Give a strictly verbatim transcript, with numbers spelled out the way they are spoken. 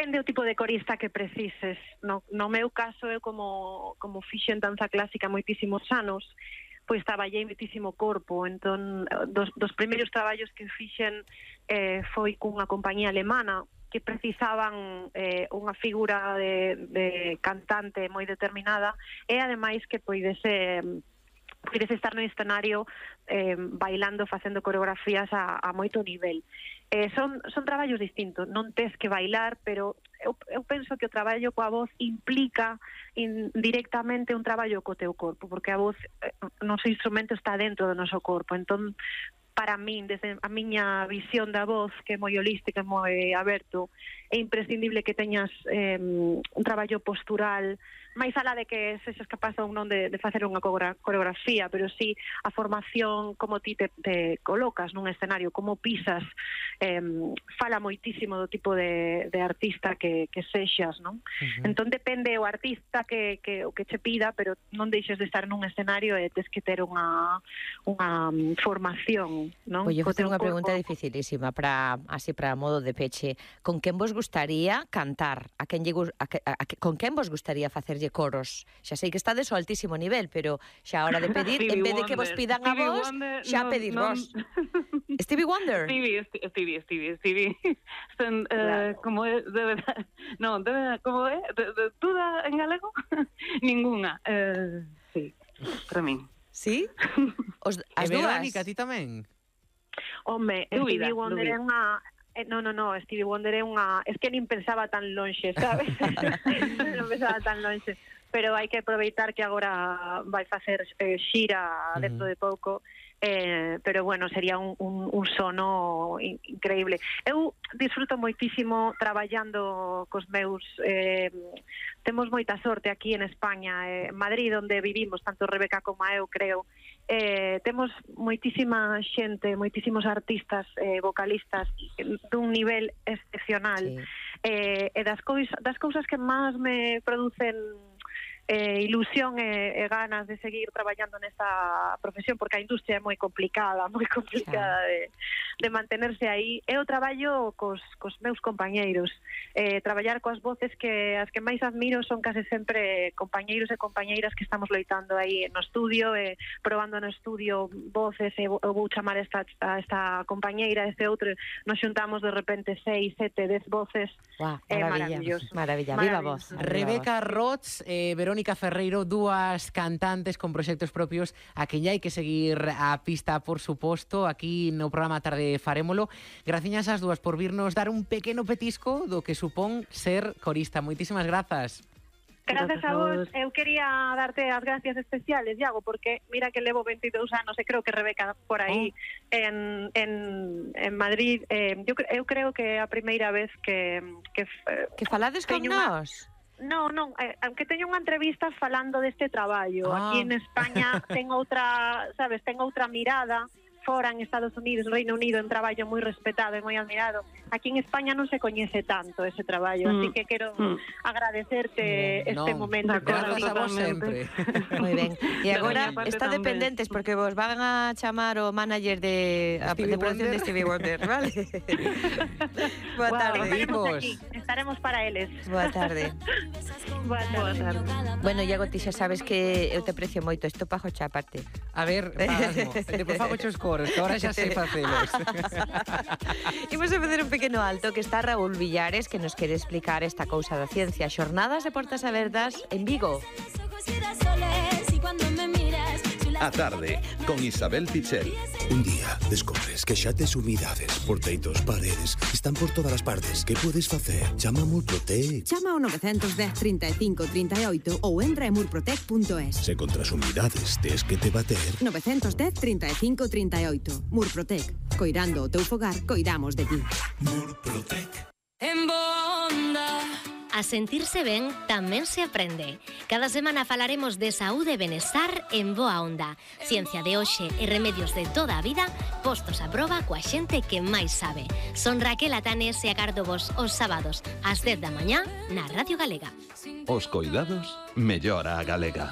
depende do tipo de corista que precises. No, no meu caso, eu como, como fixen danza clásica moitísimos anos, pois traballei moitísimo corpo. Entón, dos, dos primeiros traballos que fixen eh, foi cunha compañía alemana que precisaban eh, unha figura de, de cantante moi determinada e ademais que poidese... podes estar no escenario eh, bailando, facendo coreografías a, a moito nivel. Eh, son, son traballos distintos, non tes que bailar, pero eu, eu penso que o traballo coa voz implica in, directamente un traballo co teu corpo, porque a voz, eh, o noso instrumento está dentro do noso corpo. Entón, para min, desde a miña visión da voz, que é moi holística, moi aberto, é imprescindible que teñas eh, un traballo postural, máis alá de que sexas capaz ou non de, de facer unha coreografía, pero sí a formación, como ti te, te colocas nun escenario, como pisas, eh, fala moitísimo do tipo de, de artista que, que sexas, non? Uh-huh. Entón depende o artista que, que, o que che pida, pero non deixes de estar nun escenario e tes que ter unha, unha formación, non? Oye, facer unha pregunta dificilísima, para, así para modo de peche. Con quen vos gustaría cantar? A quen lle, a, a, a, con quen vos gustaría facerlle coros? Xa sei que estades ao altísimo nivel, pero xa a hora de pedir, en vez de que vos pidan a vos, xa pedir vos. Stevie Wonder? Stevie, Stevie, Stevie, Stevie. Son, eh, como é, de verdade, no, de verdade, como é, de, de, toda en galego? Ninguna. Eh, sí, para min. Sí? Os, as e dúas? Verónica, ti tamén? Home, Stevie Wonder é unha... Eh, no, no, no, Stevie Wonder é unha... Es que nin pensaba tan lonxe, sabes? Non pensaba tan lonxe. Pero hai que aproveitar que agora vai facer eh, xira dentro de pouco. Eh, pero bueno, sería un, un, un sono in, increíble. Eu disfruto moitísimo traballando cos meus... Eh, temos moita sorte aquí en España, eh, en Madrid, onde vivimos, tanto Rebeca como eu, creo. Eh, temos moitísima xente, moitísimos artistas, eh, vocalistas dun nivel excepcional. Sí. Eh, e das, cois, das cousas que máis me producen eh, ilusión e, e ganas de seguir traballando nesta profesión, porque a industria é moi complicada, moi complicada de, de mantenerse aí, é o traballo cos, cos meus compañeiros. Eh, traballar coas voces que as que máis admiro son case sempre compañeiros e compañeiras que estamos loitando aí no estudio, e probando no estudio voces, e eu vou chamar esta, a esta compañeira, este outro, nos xuntamos de repente seis, sete, dez voces. Wow, é maravilla, maravilloso. Maravilla, viva voz. Rebeca Rots, eh, Verónica Ferreiro, dúas cantantes con proxectos propios a que hai que seguir a pista, por suposto, aquí no programa Tarde Farémolo. Graciñas ás dúas por virnos dar un pequeno petisco do que supón ser corista. Moitísimas grazas. Gracias a vos. Eu quería darte as gracias especiales, Iago, porque mira que levo veintidous anos e creo que Rebeca por aí oh. en, en, en Madrid. Eh, eu, eu creo que é a primeira vez que... Que, que falades con nós. No, non, eh, aunque teño unha entrevista falando deste traballo. Ah. Aquí en España ten outra, sabes, ten outra mirada. Fora en Estados Unidos, Reino Unido, un traballo moi respetado e moi admirado. Aquí en España non se coñece tanto ese traballo, mm. así que quero mm. agradecerte mm. este no. momento. Gracias a vos sempre. Moi ben. E agora está dependentes porque vos van a chamar o manager de, a, de producción de Stevie Wonder, vale? Boa wow, tarde. Estaremos aquí, estaremos para eles. Boa tarde. Boa tarde. Boa tarde. Bueno, Iago, ti xa sabes que eu te aprecio moito, isto pajo xa aparte. A ver, pasmo. Depois fago chos coros, que ahora xa sei facelos. Imos a facer un pequeno alto, que está Raúl Villares, que nos quere explicar esta cousa da ciencia. Xornadas de portas abertas en Vigo. A tarde, con Isabel Pichel. Un día descubres que xa tes humidades por teitos, paredes, están por todas as partes. Que podes facer? Chama a Murprotec. Chama ao nove dez, trinta e cinco, trinta e oito ou entra en murprotec punto es. Se contra as humidades tes que te bater. nove dez, trinta e cinco, trinta e oito. Murprotec. Coidando o teu fogar, coidamos de ti. Murprotec. En Bonda. A sentirse ben tamén se aprende. Cada semana falaremos de saúde e benestar en Boa Onda. Ciencia de hoxe e remedios de toda a vida postos a proba coa xente que máis sabe. Son Raquel Atanes e agardo vos os sábados ás dez da mañá na Radio Galega. Os coidados mellora a galega.